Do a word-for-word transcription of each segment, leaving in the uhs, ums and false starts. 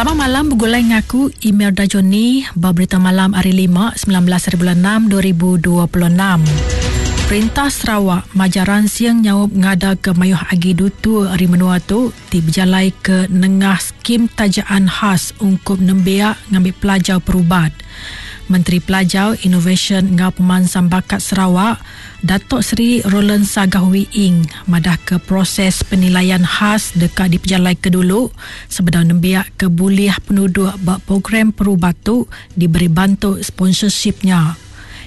Selamat malam begulai ngaku Imelda Johnny ba berita malam hari lima sembilan belas bulan enam dua ribu dua puluh enam. Perintah Sarawak majaran siang nyaup ngada ke mayuh agi dutu hari menua tu ti berjalai ke nengah skim tajaan khas ungkup nembiak ngambil pelajar perubat. Menteri Pelajar, Inovasi ngau Pemansang Bakat Sarawak, Datuk Seri Roland Sagah Wee Ing madah ke proses penilaian khas dekat dipejalai ke dulu sebedau nembiak ke bulih penduduk bak program perubat tu diberi bantu sponsorshipnya.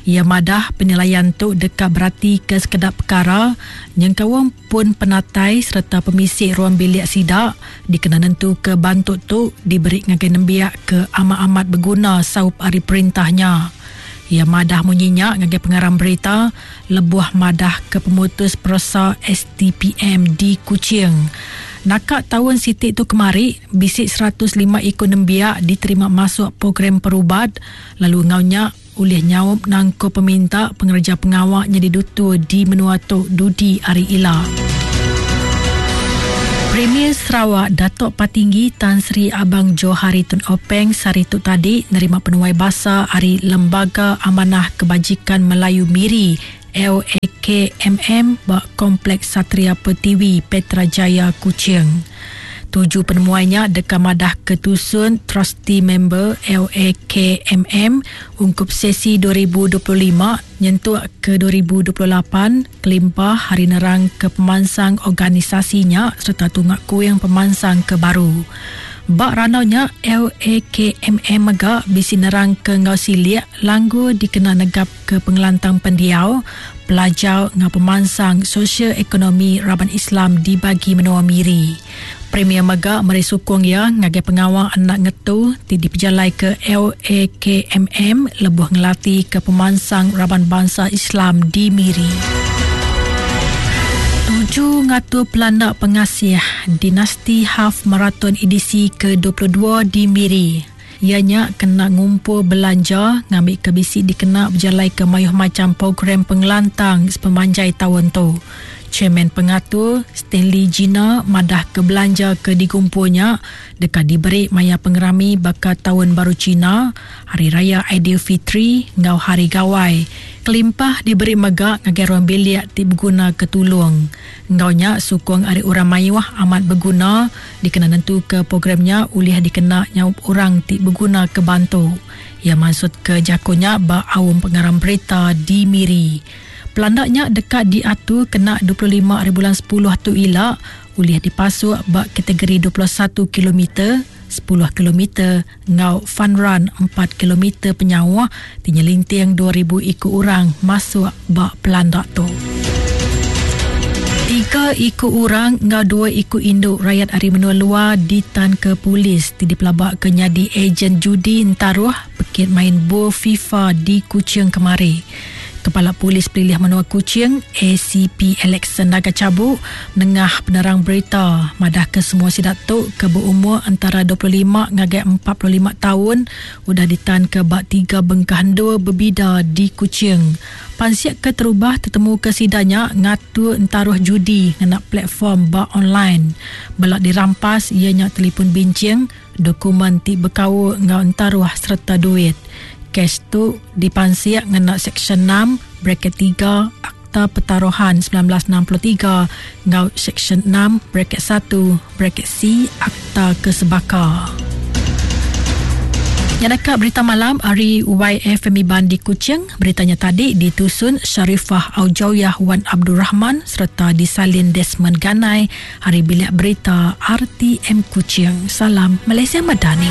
Ia madah penilaian tu dekat berarti ke sekedar perkara nyengkawang pun penatai serta pemisik ruang bilik sidak dikena nentu ke bantu tu diberi ngagai nembiak ke amat-amat berguna saup ari perintahnya. Ia madah munyinya ngagai pengarang berita lebuh madah ke pemutus peresa S T P M di Kuching. Nakak tahun sitik tu kemari, bisik seratus lima ikut nembiak diterima masuk program perubat lalu ngaunya oleh nyaup nangko peminta pengerja pengawak jadi dutu di menua Tok Dudi Ari Ila. Premier Sarawak Datuk Patinggi Tan Sri Abang Johari Tun Openg sehari tu tadi nerima penuai basa ari Lembaga Amanah Kebajikan Melayu Miri L A K M M ba Kompleks Satria Pertiwi Petra Jaya Kuching. Tuju penemuannya dekat madah ketusun trustee member L A K M M ungkup sesi dua ribu dua puluh lima nyentuk ke dua ribu dua puluh lapan kelimpah hari nerang ke pemansang organisasinya serta tungak kuing pemansang ke baru. Bak ranaunya L A K M M mega bisi nerang ke ngau siliak langgu dikena negap ke pengelantang pendiau pelajar ngau pemansang sosial ekonomi Raban Islam dibagi menua Miri. Premier mega meri sukung ia ngagai pengawal anak ngetu ti dipejalai ke L A K M M lebuh ngelati ke pemansang Raban Bangsa Islam di Miri. Tuju ngatur pelanak pengasih Dinasti Half Marathon edisi ke dua puluh dua di Miri. Ianya kena ngumpul belanja ngambil ke bisi dikena berjalai ke mayuh macam program pengelantang sepemanjai tahun tu. Chairman pengatur Stanley Gina madah ke belanja ke dikumpulnya dekat diberi maya pengerami bakal tahun baru Cina, Hari Raya Aidilfitri ngau Hari Gawai. Kelimpah diberi megak ngagai ruang bilik ti berguna ke tulung. Ngaunya sukung ari orang mayuh amat berguna dikena nentu ke programnya ulih dikena nyaup orang ti berguna ke bantu. Ia maksud ke jakonya ba awam pengarang berita di Miri. Pelandaknya dekat diatur kena dua puluh lima hari bulan sepuluh tu ila ulih dipasuk bak kategori dua puluh satu kilometer, sepuluh kilometer ngau fun run empat kilometer penyawah tinyelinting dua ribu ikut orang masuk bak pelandak tu. Tiga ikut orang ngau dua ikut induk rakyat ari menua luar ditan ke polis ti dipelabak ke nyadi ejen judi entaruh pekit main bol FIFA di Kuching kemari. Kepala Polis Pelilih Menua Kuching A C P Alexander Nagacabuk nengah penerang berita madah ke semua sidak tu ke berumur antara dua puluh lima ngagai empat puluh lima tahun udah ditan ke bak tiga bengkah dua berbida di Kuching. Pansiak ke terubah tetemu ke sidanya ngatur entaruh judi ngena platform bak online. Belak dirampas ianya telefon bincing, dokumen ti berkau ngau entaruh serta duit. Kes tu dipansiak ngena Seksyen enam bracket tiga Akta Pertaruhan sembilan belas enam puluh tiga ngau Seksyen enam bracket satu bracket C Akta Kesebaka. Yang dekat berita malam hari Y F M Iban di Kuching. Beritanya tadi ditusun Sharifah Aujawiyah Wan Abdul Rahman serta disalin Desmond Ganai. Hari bilik berita R T M Kuching. Salam Malaysia Madani.